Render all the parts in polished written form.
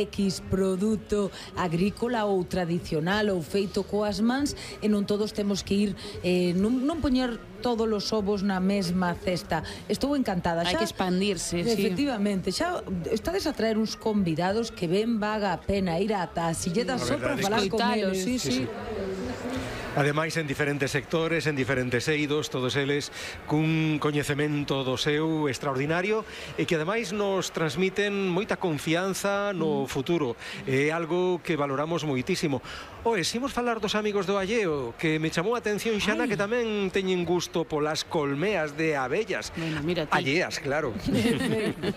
X produto agrícola ou tradicional ou feito coas mans, e non todos temos que ir non poñer todos os ovos na mesma cesta. Estou encantada. Hai que expandirse, efectivamente, xa estades a traer uns convidados que ben vaga a pena ir ata a Silleda só para falar con eles. Sí. Ademais, en diferentes sectores, en diferentes eidos, todos eles cun coñecemento do seu extraordinario e que ademais nos transmiten moita confianza no futuro. É algo que valoramos moitísimo. Oe, imos falar dos amigos do Alleo, que me chamou a atención, Xana, que tamén teñen gusto polas colmeas de abellas. Bueno, mira ti. Alleas, claro.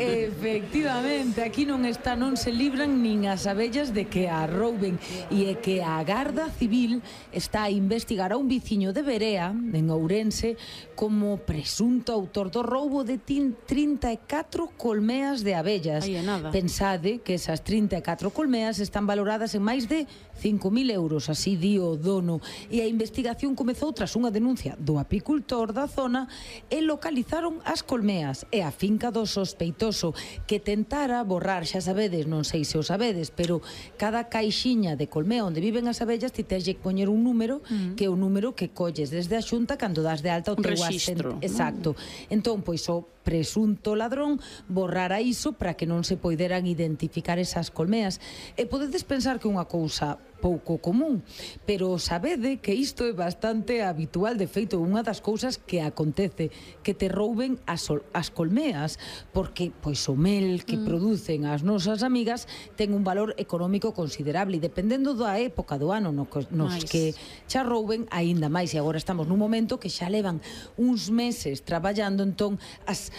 Efectivamente, aquí non se libran nin as abellas de que a rouben, e é que a Garda Civil está a investigar a un veciño de Berea, en Ourense, como presunto autor do roubo de 34 colmeas de abellas. Pensade que esas 34 colmeas están valoradas en máis de 5.000 euros, así di o dono, e a investigación comezou tras unha denuncia do apicultor da zona e localizaron as colmeas e a finca do sospeitoso, que tentara borrar, xa sabedes, non sei se o sabedes, pero cada caixiña de colmea onde viven as abellas ti tens que poñer un número, que é o número que colles desde a Xunta cando das de alta o teu rexistro. Exacto. Entón, pois o presunto ladrón borrara iso para que non se poideran identificar esas colmeas. E podedes pensar que é unha cousa pouco común, pero sabede que isto é bastante habitual. De feito, unha das cousas que acontece, que te rouben as colmeas, porque pois o mel que producen as nosas amigas ten un valor económico considerable, e dependendo da época do ano nos que xa rouben, aínda máis. E agora estamos nun momento que xa levan uns meses traballando, entón as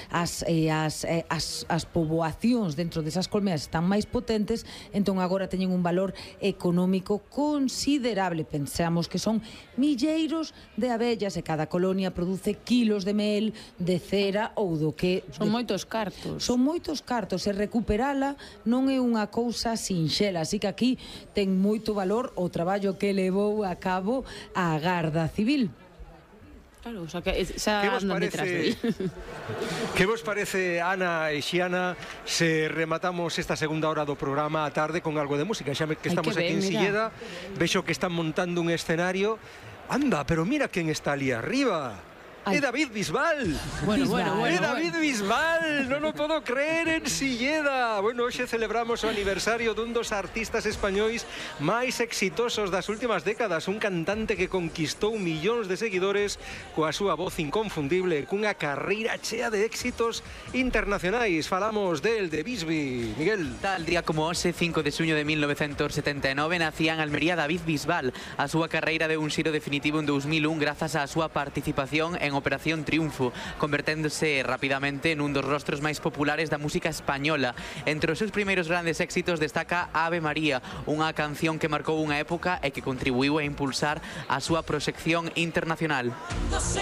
poboacións dentro desas colmeas están máis potentes, entón agora teñen un valor económico considerable. Pensamos que son milleiros de abellas e cada colonia produce kilos de mel, de cera ou do que... Son moitos cartos. Son moitos cartos, e recuperala non é unha cousa sinxela, así que aquí ten moito valor o traballo que levou a cabo a Garda Civil. Claro, o sea, que xa andan detrás de él. Que vos parece, Ana e Xiana, se rematamos esta segunda hora do programa a tarde con algo de música? Xa que estamos aquí en Silleda, vexo que están montando un escenario. Anda, pero mira quen está ali arriba. É David Bisbal. É David Bisbal. Non o podo creer, en Silleda. Bueno, hoxe celebramos o aniversario dun dos artistas españois máis exitosos das últimas décadas, un cantante que conquistou millóns de seguidores coa súa voz inconfundible, cunha carreira chea de éxitos internacionais. Falamos del, de Bisbi. Miguel. Tal día como hoxe, 5 de xuño de 1979, nacía en Almería David Bisbal. A súa carreira deu un xiro definitivo en 2001 grazas á súa participación en Operación Triunfo, converténdose rapidamente nun dos rostros máis populares da música española. Entre os seus primeiros grandes éxitos destaca Ave María, unha canción que marcou unha época e que contribuiu a impulsar a súa proxección internacional.